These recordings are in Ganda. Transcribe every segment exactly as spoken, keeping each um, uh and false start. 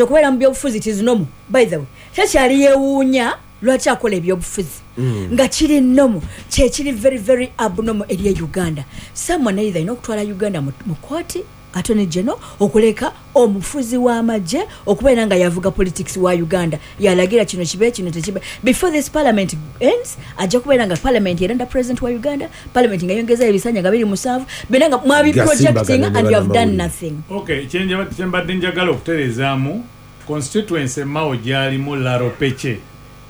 Okubeera mu byobufuzi it is normal. By the way, tekyali yeewuunya lwaki akola ebyobufuzi Mm. nga kiri normal. Kyekiri very very abnormal eri e Uganda, someone either alina okutwala Uganda mu mu kooti, Attorney General, okuleka omufuzi w'amagye okubeera nga yavuga politics wa Uganda, yalagira kino kibe, kino tekibe. Before this parliament ends, ajja kubeera nga parliament erenda president wa Uganda, parliament nga yongezayo ebisanja nga biri musanvu, byonna nga mwabiprojectinga and you have done nothing. Okay, kyenjaba- kyembadde njagala okutereezaamu, constituency Mao gyalimu, Laro Pece,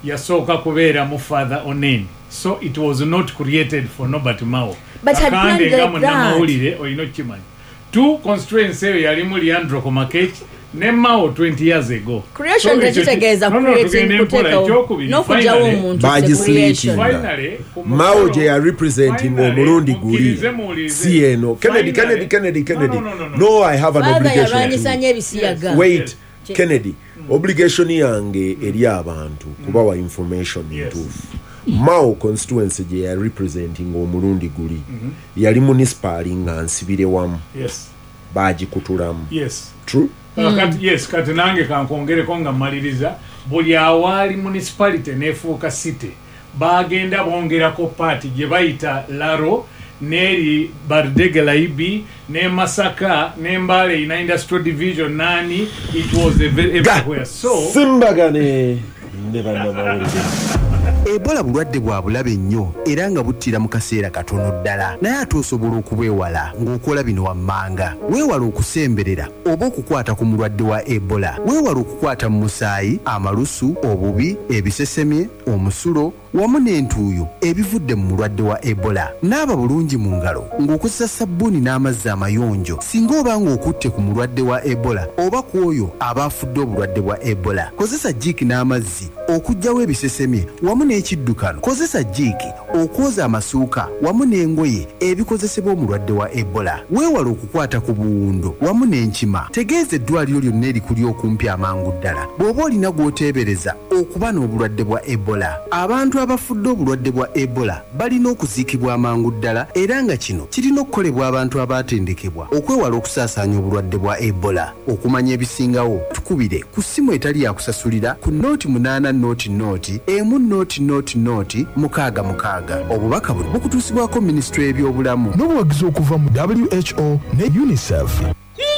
yasooka kubeeramu Father Onen, so it was not created for Norbert Mao. But had Kakande planned nga like that. Munnamawulire olina okukimanya, two constituency eyo yalimu Leandro Komakech ne Mao twenty years ago. Creation So ekyo ki- tekitegeeza No, no, creating, tugende mpola. kuteekawo Ekyokubiri, n'okugyawo finally- omuntu. Bagisleetinga. Finally, ku Mao mukolo- gye ya representing finally, omulundi guli mukkirize muwulirize. si eno. Kennedy, Finally- Kennedy, Kennedy, Kennedy. No, no, no, no, No, I have an Father obligation yalwanyisa to nnyo ebisiyaga. Wait, Kennedy, obligation yange eri abantu kubawa information Yes. ntuufu. Mao constituency gye ya representing omulundi guli yali municipal nga nsibire wamu, Yes. bagikutulamu. Yes. True. Kati, yes, kati nange kankwongereko nga mmaliriza, buli awaali municipality nefuuka city, bagenda bongerako part gye bayita Laro, neri Bardege Laibi ne Masaka ne Mbale ina industrial division nani, it was a very everywhere, so Simbagane ne bannamawulire. Ebola bulwadde bwa bulabe nnyo era nga buttira mu kaseera katono ddala, naye ate osobola okubwewala ng'okola bino wammanga. Weewala okusemberera oba okukwata ku mulwadde wa Ebola. Weewala okukwata mu musaayi, amalusu, obubi, ebisesemye, omusulo wamu n'entuuyo ebivudde mu mulwadde wa Ebola. Naaba bulungi mu ngalo ng'okozesa sabbuuni n'amazzi amayonjo singa oba ng'okutte ku mulwadde wa Ebola oba ku oyo aba afudde obulwadde bwa Ebola. Kozesa jiiki n'amazzi okuggyawo ebisesemye wamu n'ekiddukano. Kozesa jiiki okwoza amasuuka wamu n'engoye ebikozesebwa omulwadde wa Ebola. Weewala okukwata ku buwundo wamu n'enkima. Tegeeza eddwaliro lyonna erikuli okumpi amangu ddala bw'oba olina gw'oteebereza okuba n'obulwadde bwa Ebola. Abantu abafudde obulwadde bwa Ebola balina okuziikibwa amangu ddala, era nga kino kirina okukolebwa abantu abaatendekebwa okwewala okusaasaanya obulwadde bwa Ebola. Okumanya ebisingawo, tukubire ku ssimu etali yakusasulira ku nooti munaana nooti nooti emu nooti nooti nooti mukaaga mukaaga. Obubaka buno bukutuusibwako minisitule y'ebyobulamu n'obuwagizi okuva mu W H O ne UNICEF.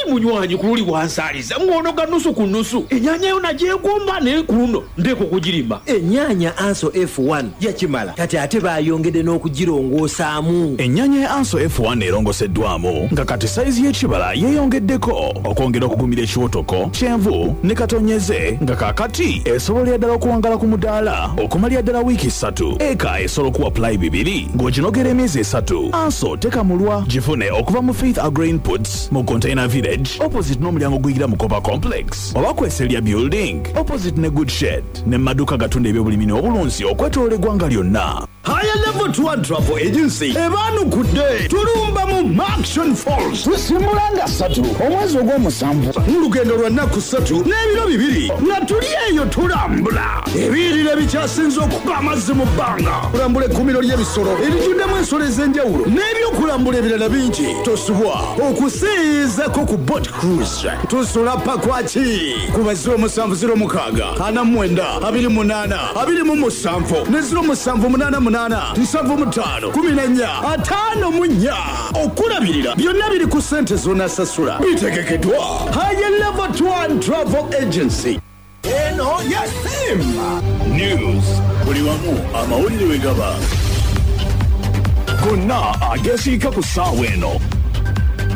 Munywanyi, ku luli wansaaliza ng'onoga nusu ku nusu. Ennyaanya yo nagyegomba, naye ku luno ndeeka okugirima. Ennyaanya Anso F one yakimala, kati ate baayongedde n'okugirongoosaamu. Ennyaanya ya Anso F one erongoseddwamu nga kati sayizi y'ekibala yeeyongeddeko okwongera okugumira ekiwotoko, kyenvu ne katonyeze, nga kaakati esobolera ddala okuwangala ku mudaala okumalira ddala wiiki ssatu. Eka esobola okuwa pulayi bibiri ng'oginogera emyezi esatu. Anso tekamulwa. Gifune okuva mu Faith Agro Inputs mu Container Village, opposite n'omulyango guyingira mu Copa Complex, oba kweselya Building, opposite ne Good Shed, ne maduuka gatunda ebyobulimi n'obulunzi okwetoloola eggwanga lyonna. Higher Level Tour Travel Agency ebaanukudde. Tulumba mu Murchison Falls. Tusimbula nga ssatu omwezi ogw'omusanvu mu lugendo lwa nnaku ssatu n'ebiro bibiri, nga tuli eyo tulambula ebiyiriro ebikyasinze okuba amazzi mu bbanga, kulambula ekkuumiro ly'ebisolo erijjuddemu ensolo ez'enjawulo n'ebyokulambula ebirala bingi. Tosubwa okuseeyeezako ku boat cruise. Tusula Pakwaki ku ba zero musanvu zero mukaaga ana mwenda abiri munaana abiri mu musanvu ne zero musanvu munaana munaana nsanvu mu ttaano kumi na nnya ataano mu nnya. Okulabirira byonna biri ku ssente z'onaasasula. Bitegekeddwa Higher Level Tour and Travel Agency. Eno ya Simba. News buli wamu, amawulire we gaba gonna agesiika ku ssaawa eno.